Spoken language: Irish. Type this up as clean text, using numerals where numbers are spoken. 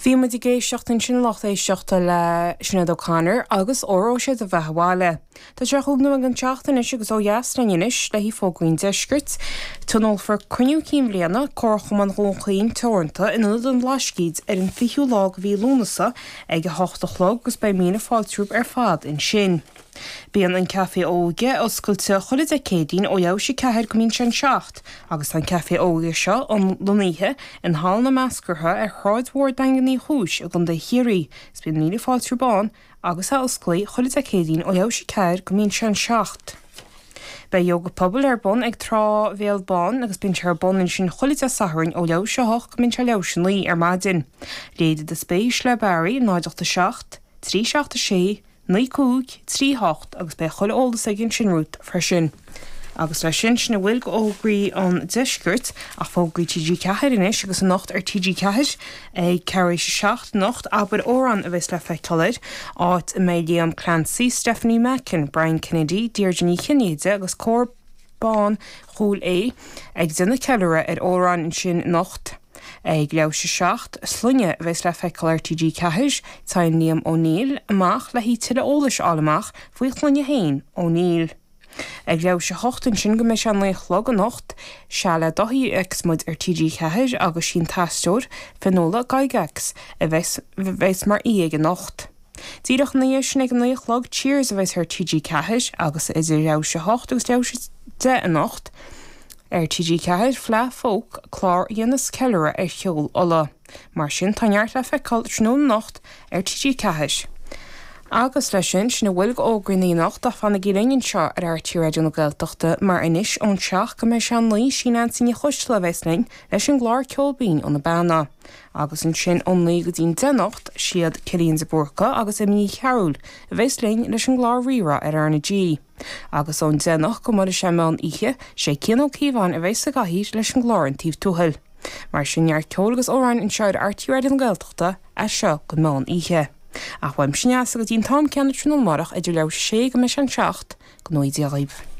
Bhí muid ag éisteacht ansin, a lucht éisteachta, le Sinéad O'Connor agus Óró Sé do Bheatha 'Bhaile. Tá sé chúig nóiméad don tseacht anois agus ó dheas linn anois le haghaidh fógraí an deiscirt. Tionólfar Cruinniú Cinn Bhliana, Comharchumann Dhún Chaoin Teoranta in Ionad an Bhlascaoid ar an 20ú lá de mhí Lúnasa ag 8 a chlog agus beidh míle fáilte romhaibh ar fad ansin. Bíonn an Café Óige oscailte chuile Dé Céadaoin ó leathuair théis 4 go mbíonn sé an 7 agus tá an Café Óige seo lonnaithe in Halla na Meascartha ar Shráid Mhór Daingean Uí Chúis i gContae Chiarraí is bíonn míle fáilte romhaibh ann agus é osclaí chuile Dé Céadaoin ó leathuair théis 4 go mbíonn sé an 7. Beidh Ióga Pobail ar bun ag Trá Bhéal Bán agus bíonn sé ar bun ansin chuile Dé Sathairn ó leathuair théis 8 go mbíonn sé leathuair théis 9 ar maidin. Léirigh do spéis le Barry 0 8 7 3 7 6 9 5 3 8 agus beidh chuile eolas aige ansin romhat freisin. Agus leis sin, sin a bhfuil de fhógraí an deiscirt, ach fógraí TG4 anois agus anocht ar TG4 ag ceathrú théis a 7 anocht, Abair Amhrán a bheas le feiceáil air, áit a mbeidh Liam Clancy, Stephanie Mackin, Brian Kennedy, Deirdre Ní Chinnéide agus Cór Ban Chúil Aodha ag déanamh ceiliúradh ar amhráin ansin anocht. Ag leathuair théis a 7, Sloinne a bheas le feiceáil ar TG4, téann Liam O'Neill amach le haghaidh tuilleadh eolais a fháil amach faoi shloinne féin O'Neill. Ag leathuair théis a 8 ansin go mbeidh sé 9 a chlog anocht, Seal le Dáithí a fheicfeas muid ar TG4 agus sí an t-aisteoir, Fionnuala Gygax, a bheas mar aoi aige anocht. Díreach ina dhiaidh sin ag a 9 a chlog, Cheers a bheas ar TG4 agus idir leathuair théis a 8 agus leathuair théis 10 anocht, Ar TG4, Fleadh Folk, clár a dhéanas ceiliúradh ar cheol Uladh. Mar sin, tá neart le feiceáil tráthnóna anocht ar TG4. Agus leis sin, sin a bhfuil de fhógraí na anocht ach fanaigí linn anseo ar RTÉ Raidió na Gaeltachta mar anois ón 7 go mbeidh sé an 9 sí Neansaí Ní Choisdealbha a bheas linn leis an gclár Ceol Binn ó na Beanna. Agus ansin ón 9 go dtí'n 10 anocht, siad Cillian de Búrca agus Emma Ní Chearúil a bheas linn leis an gclár Rí-Rá ar RnaG. Agus ón 10 anocht go mbuailfidh sé meán oíche, sé Cian Ó Cíobháin a bheas sa gcathaoir leis an gclár An Taobh Tuathail. Mar sin neart ceoil agus amhráin anseo ar RTÉ Raidió na Gaeltachta as seo go meán oíche. Ach uaimse Neasa go dtí an t-am céanna tráthnóna amárach idir leathuair théis a sé go mbeidh sé an 7, go ngnóthaí Dia dhaoibh.